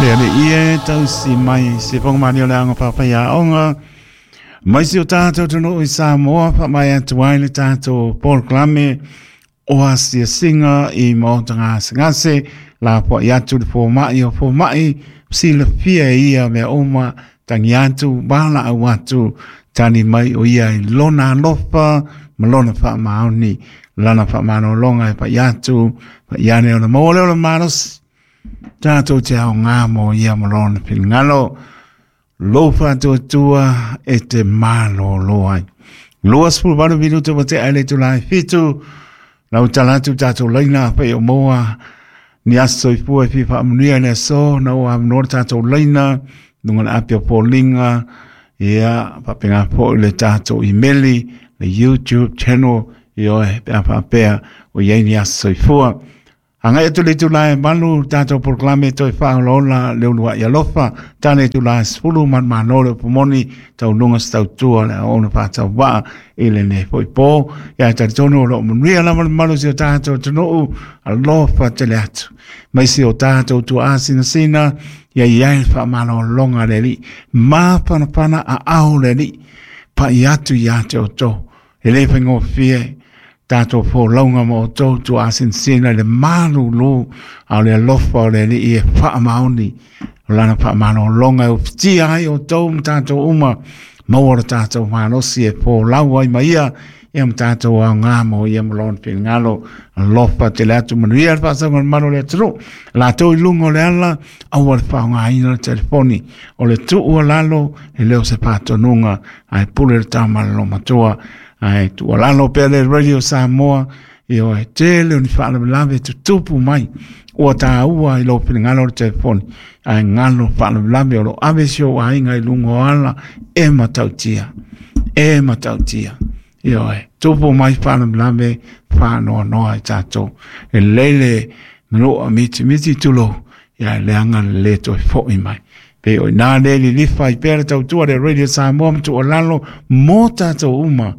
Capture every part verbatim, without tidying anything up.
Le ale ie tausi mai se fonga mani o le anga papai a onga. Mai si o tātou tunu i Samoa, pa mai atu ai le tātou polokalame o asia singa i maota ngase ngase, la po i atu le fōmai o fōmai, silafia ia mea uma, tangi atu, bala au atu, tani mai o ia i lona alofa, ma lona whaamaoni, lana whaamanolonga e pa i atu, pa i ane o le maua leo le malosi, tātou te ao ngā mō ia ma lona pilingalo, lo whātua e te mālolo ai. Lua sepuluh valu minuta wa te aile tu lai fitu, lau talatu tātou leina pe o moa, ni aso i fua i whiwha amunia ni aso, na o amnoa tātou leina, nunga na apia pōlinga, ia, papenga po i le tātou imeli, le YouTube channel, i oe, pea pāpea, o iei ni aso i fua. Hangai atu le tulae malu tātou polokalame toi whaolaola le ulua i alofa tāne tulae sepuluh man manole o pumoni tau lunga stautua le aona whātau waa i le nei poi pō ia tari tonu o lo manuia lama le malu si o tātou tunuu alofa tele atu mai si o tātou tua asina sina ia iai whaamalolonga le li māpanapana a ao le li pa i atu ia te o tō e le whaingofie tātou pōlaunga mo o tō tua asinsina le malulu au le alofa o le li i e whaamaoni o lana whaamanolonga e upitia ai o tō ma tātou uma maua o tātou malosi e pōlau ai maia ia ma tātou au ngā mo ia ma lona pingalo alofa te le atu manuia le whaasanga le manu le aturu la tō i lunga o le ala aua le whaongaina le telefoni o le tuu lalo e leo se pātonunga ai pule le tāmala matua ai tua lalo pea le Radio Samoa i o e tele o ni whaalavelave tutupu mai ua tāua i lo piningalo o le telefoni ai ngalo whaalavelave o lo ave si o ainga i lunga o ala e matautia e matautia i o e tupu mai whaalavelave whaanoa noa i tātou e lele maloa miti miti tulo ia leanga le toi foi mai pe o nā lele lifa i pera tautua le Radio Samoa mtu o lalo mō tātou uma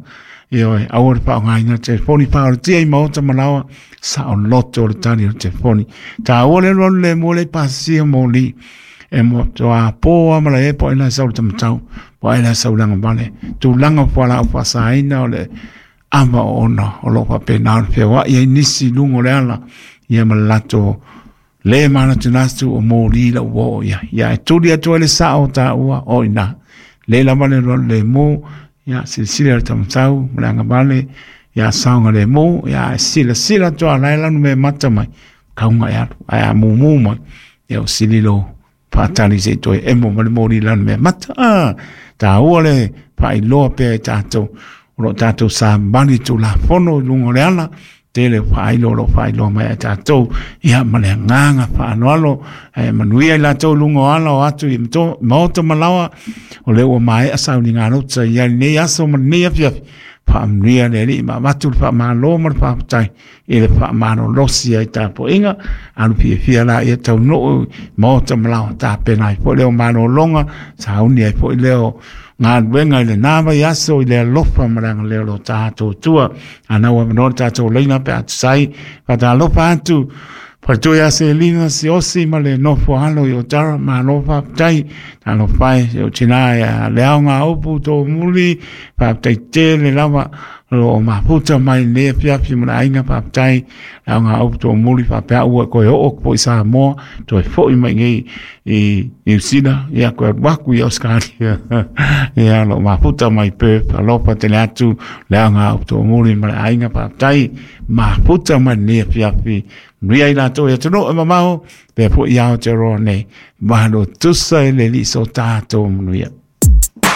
i oe, aua le whaongaina telefoni whaoratia i maota malawa sa o loto o le tani o telefoni. Tā ua le rolu le mō le pasia mō li e mō toa pōa mala e po ina sau le tamatau po ina sau langa male tūlanga po ala o whasaina o le ama o ona o lo whapena o le whiawa ia nisi lungo le ala ia malato le mana tunastu o mō li la ua o ia ia e tuli atu le sa o tā ua o ina le lava le rolu le mō ia silasila le tamatau ma le agavale ia saoga lemu ia e silasila atu a lae lanu me mata mai kauga e alu ae a mumu mai ia o sililo faatali seʻi toe emo ma le moli lanu mea mata a tāua le faailoa pea i tatou o loo tatou samani tulafono i luga o le ala tele faailoa o loo faailoa mai ai tatou ia ma le agaga faaloalo ae manuia i latou luga o ala o atu i maota malaoa o le ua maea sauligalota ia lenei aso ma lenei afiafi faamanuia le alii ma avatu le faamālō ma le faafetai i le faamalolosi ai tapuaiga alu fiafia laia taunuu maota malaoa tapena ai foʻi leo malōloga sauni ai foʻi leo galuega i lenā vai aso i le alofa ma le agalelei o lo tatou tua anau avanoa le tatou laina pe atusai faatalofa atu Fatui a se lina se osi ma le nofo alo i o tara malo faafetai talofa e se o tina e a le aoga upu tō muli faafetai tele lava o lo o mafuta mai le afiafi ma le aiga faafetai le aoga upu tō muli faapea ua e koe oo po i Samoa toe foʻi mai nei i New Zealand ia koe alu aku i Australia ia o lo o mafuta mai Perth alofa tele atu le aoga upu tō muli ma le aiga faafetai mafuta mai lenei afiafi Manuia i latou e atunuu e mamao pea foʻi Aotearoa nei malo tusa e le alii so tatou manuia.